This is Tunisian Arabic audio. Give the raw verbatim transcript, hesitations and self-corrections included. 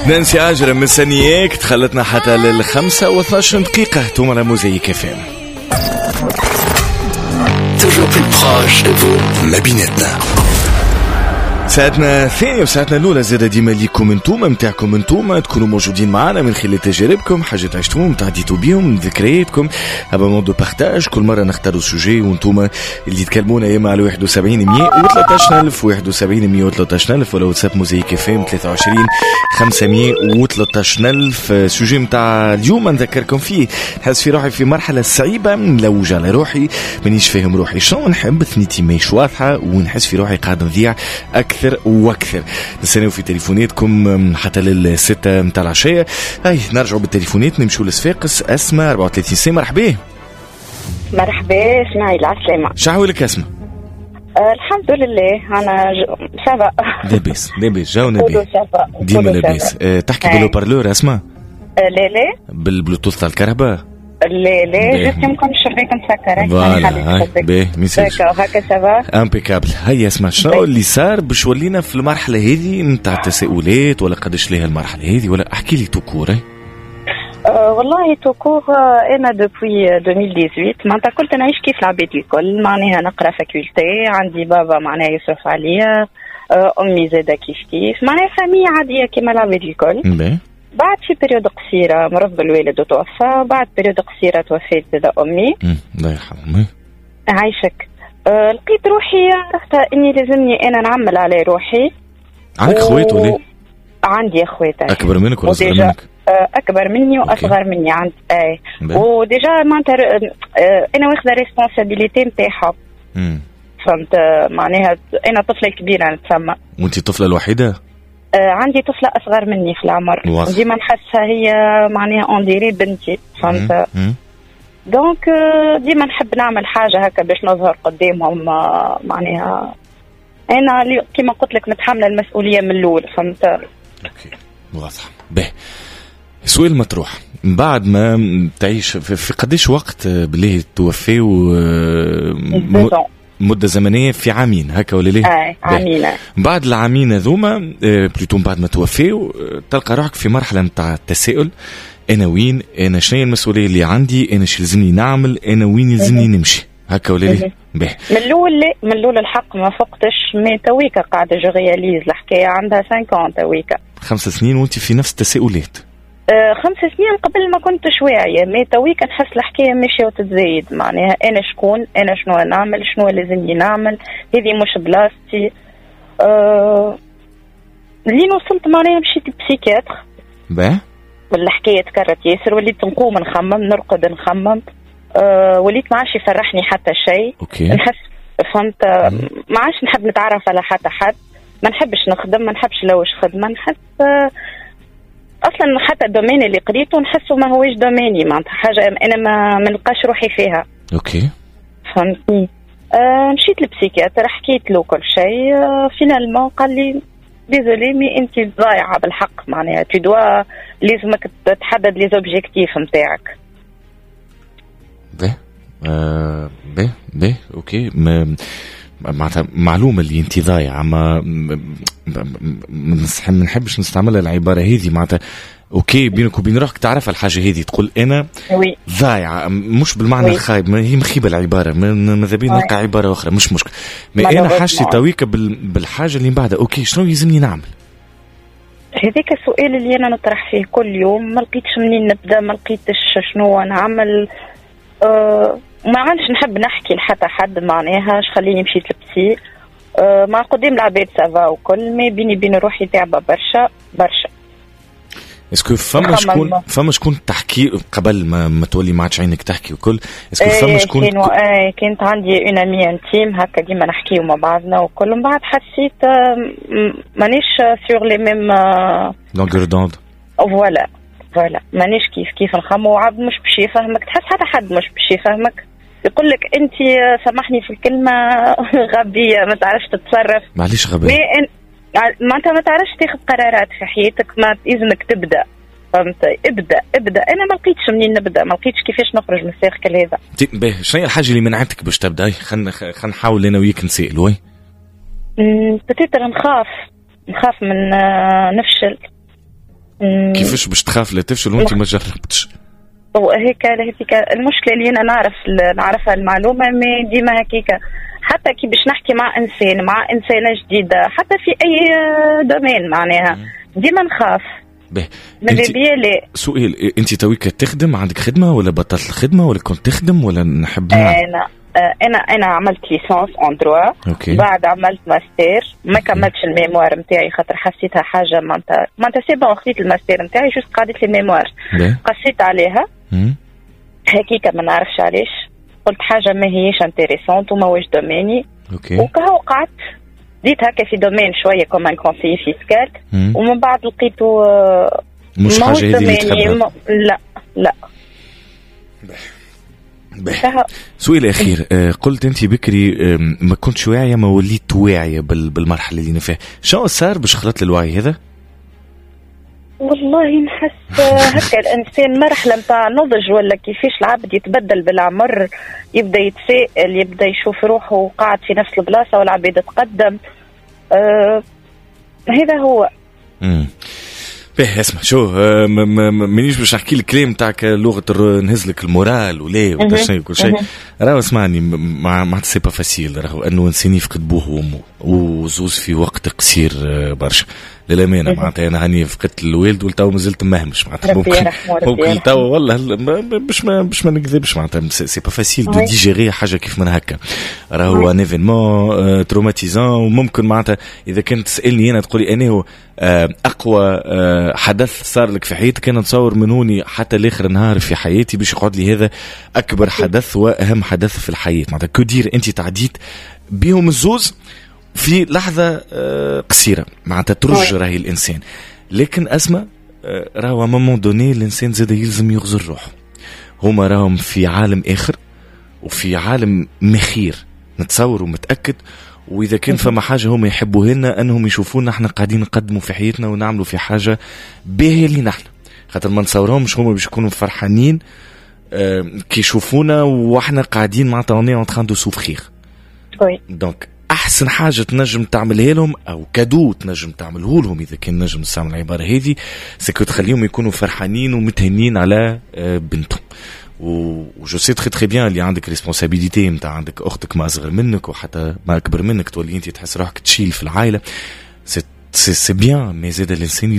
نانسي عجرم مستنياك تخلتنا حتى للخمسة واثناش دقيقة توما على موزايك اف ام. Toujours plus proche de vous. ما بيناتنا. ساعتنا الثانية وساعتنا الأولى زاد ديما ليكم انتوما، متاعكم انتوما، تكونوا موجودين معنا من خلال تجاربكم، حاجات عشتوهم، تعديتوا بيهم، ذكرياتكم، moment de partage. كل مرة نختاروا sujet وانتوما اللي تكلمونا يا اما على واحد وسبعين مية وثلاثطاش ألف، واحد وسبعين مية وثلاثطاش ألف، ولا واتساب موزايك اف ام ثلاثة وعشرين خمسمية وثلاثطاش ألف. sujet متاع اليوم نذكركم فيه: نحس في روحي في مرحلة صعيبة، نلوج على روحي، مانيش فاهم روحي شنو نحب، ثنيتي ماهيش واضحة ونحس في روحي قاعد نضيع أكثر وأكثر. نستناو في تليفوناتكم حتى للستة متاع العشية. هاي نرجعوا بالتليفونات، نمشوا لصفاقس. أسماء، أربعة وثلاثين سنة، مرحبا. مرحبا اسماعيل، عسلامة. شحوالك أسماء؟ آه الحمد لله، انا ça va. لاباس لاباس، جاونا بيه ديما لاباس. أه تحكي بال haut-parleur اسماء؟ آه لا لا. بالبلوتوث تاع الكرهبة؟ لا لا، juste يمكن الشباك مسكر. voilà، باهي. ميسالش. هكا ça va؟ impeccable. هيا اسمع، شنو اللي صار باش ولينا في المرحلة هذه نتاع التساؤلات؟ ولا قداش ليها المرحلة هذه؟ ولا احكي لي tout court. أه والله tout court، انا depuis ألفين وثمنطاش معناتها كنت نعيش كيف العباد الكل، معناها نقرا faculté، عندي بابا معناها يصرف عليا، امي زاده كيف كيف، معناها famille عادية كيما العباد الكل. بعد في période قصيرة مرض الوالد وتوفى، بعد période قصيرة توفيت زاده امي. الله يرحمه. عايشك. أه لقيت روحي عرفت اني لازمني انا نعمل على روحي. عندك اخوات ولا؟ عندي اخوات. اكبر منك ولا اصغر منك؟ اكبر مني واصغر مني عند اي، و déjà معناتها انا واخذه responsabilité نتاعها، فهمت؟ معناها انا طفله كبيرة نتسمى. وانت الطفلة الوحيدة؟ آه عندي طفله اصغر مني في العمر، ديما نحسها هي معناها on dirait بنتي، فهمت؟ donc ديما نحب نعمل حاجة هكا باش نظهر قدامهم، معناها انا كيما قلت لك متحملة المسؤولية من الاول، فهمت؟ OK، واضح. به، سؤال مطروح: من بعد ما تعيش في قديش وقت بالله توفي؟ مدة زمنية في عامين هكا ولا ليه؟ اي، عامين. بعد العامين هذوما، plutôt بعد ما توفيو، تلقى روحك في مرحلة نتاع التساؤل: أنا وين؟ أنا شنو المسؤولية اللي عندي؟ أنا شو لازمني نعمل؟ أنا وين يلزمني نمشي؟ هكا ولا ليه؟ باهي. من الاول لا، من الاول الحق ما فقتش، mais تويكا قاعدة je réalise الحكايه، عندها خمسة تويكا. خمس سنين وانت في نفس التساؤلات؟ آه خمس سنين قبل ما كنتش واعيه، mais تويكا نحس الحكاية ماشية وتتزايد، معناها انا شكون؟ انا شنو نعمل؟ شنو لازمني نعمل؟ هذه مش بلاصتي. آه لين وصلت معناها مشيت psychiatre. باه والحكاية تكررت ياسر، وليت نقوم نخمم، نرقد نخمم، أه وليت ما عادش يفرحني حتى شيء. OK نحس، فهمت، ما عادش نحب نتعرف على حتى حد، ما نحبش نخدم، ما نحبش نلوج خدمه، نحس أه اصلا حتى ال domaine اللي قريته نحسه ما هوش domaine ي، معناتها حاجة انا ما ما نلقاش روحي فيها. OK فهمتني؟ أه مشيت لل psychiatre، حكيت له كل شيء، أه finalement قال لي désolé mais انت ضايعة بالحق، معناها tu dois لازمك تحدد les objectifs نتاعك. باهي آه باهي باهي OK، ما معناتها معلومة اللي انت ضايعه، ما ما نحبش نستعملها العبارة هذه، معناتها OK بينك وبين روحك تعرف الحاجة هذه، تقول انا oui ضايعه، مش بالمعنى oui. الخايب، ما هي مخيبه العباره، ماذا بينا نلقى عبارة اخرى، مش مشكل، ما انا حاجتي تويكا بالحاجة اللي من بعدها، OK شنو يلزمني نعمل؟ هذاك السؤال اللي انا نطرح فيه كل يوم، ما لقيتش منين نبدا، ما لقيتش شنو نعمل. أه ما عادش نحب نحكي لحتى حد، معناها اش خليني مشيت ل psy. أه مع قدام العباد ça va وكل، mais بيني بين روحي تعبه برشا برشا. est-ce que فما شكون فما شكون تحكي قبل ما, ما تولي ما عادش عينك تحكي وكل؟ est-ce que فما شكون؟ كانوا ايه، كانت عندي une amie intime هكا ديما نحكيو مع بعضنا وكل، من بعد حسيت مانيش sur les mêmes longueurs d'onde. voilà voilà، مانيش كيف كيف نخمو، عبد مش باش يفهمك، تحس حتى حد مش باش يفهمك، يقول لك انت، سامحني في الكلمه، غبيه، ما تعرفش تتصرف. معليش غبية. معناتها ما تعرفش تاخذ قرارات في حياتك، ما لازمك تبدا، فهمت؟ ابدا ابدا، انا ما لقيتش منين نبدا، ما لقيتش كيفاش نخرج من ال cercle هذا. باهي، شنو هي الحاجة اللي منعتك باش تبدا؟ خلينا خلينا نحاول انا وياك نسال، oui. peut-être نخاف نخاف من آه، نفشل. كيفاش باش تخاف لا تفشل وانت ما جربتش؟ هيك هيك المشكلة اللي انا نعرف نعرفها المعلومه، mais ديما هكيك، حتى كي باش نحكي مع انسان، مع انسانه جديده، حتى في اي domaine، معناها ديما نخاف. به، انت سؤال، انت تويك تخدم؟ عندك خدمة ولا بطلت الخدمة ولا كنت تخدم ولا نحب؟ انا انا انا عملت licence en droit. OK. بعد عملت ماستر، ما كملتش ال mémoire نتاعي خاطر حسيتها حاجة معناتها معناتها c'est bon، خديت الماستر نتاعي، juste قعدت لي ال mémoire، قصيت عليها هكيكا، ما نعرفش علاش، قلت حاجة ما هيش intéressante وما هوش domaine ي. OK. وكهو قعدت بديت هكا في domaine شوية comme un conseiller fiscal، ومن بعد لقيته مش حاجة هذه اللي تحبها. لا لا. به، سؤال اخير، آه، قلت انت بكري ما كنتش واعيه، ما وليت واعية بالمرحلة اللي انا فيها. شنو صار باش خلطت للوعي هذا؟ والله نحس هكا الانسان مرحلة نتاع نضج ولا كيفاش العبد يتبدل بالعمر، يبدا يتساءل، يبدا يشوف روحه قاعد في نفس البلاصة والعباد تقدم. آه هذا هو. امم باهي، اسمع شو، آه، مانيش باش نحكي لك كلام تاعك لغة نهز لك ال moral ولا ولا شيء كل شيء. راهو اسمعني، ما c'est pas facile راهو انه انسان يفقد بوه وامه وزوز في وقت قصير آه، برشا. للامانة معناتها انا هاني فقدت الوالد ولتو مازلت مهمش، معناتها ممكن ممكن تو والله باش ما باش ما نكذبش، معناتها c'est pas facile de digérer حاجة كيف من هكا. راهو un événement traumatisant، وممكن معناتها اذا كنت تسالني انا تقولي انا هو آه، اقوى آه، حدث صار لك في حياتك، انا نتصور من هوني حتى لاخر نهار في حياتي باش يقعد لي هذا اكبر حدث واهم حدث في الحياه. معناتها que dire، انت تعديت بهم الزوز في لحظة آه، قصيره، معناتها ترج راهي الانسان. لكن اسماء، آه، راهو à un moment donné الانسان زاد يلزم يغزر روحه. هما راهم في عالم اخر وفي عالم مخير نتصور ومتاكد، واذا كان فما حاجة هم يحبوها لنا انهم يشوفونا احنا قاعدين نقدموا في حياتنا ونعملوا في حاجة باهيه لينا احنا، خاطر ما نتصورهمش هما باش يكونوا فرحانين آه، كي يشوفونا واحنا قاعدين معناتها on est en train de souffrir. donc احسن حاجة تنجم تعملها لهم او cadeau تنجم تعمله لهم، اذا كان نجم نستعمل العبارة هذه، c'est que تخليهم يكونوا فرحانين ومتهنين على آه، بنتهم. و je sais très très bien اللي عندك responsabilité نتاع عندك اختك ما اصغر منك وحتى ما اكبر منك، تولي انت تحس روحك تشيل في العائله. c'est c'est bien، mais زاد الانسان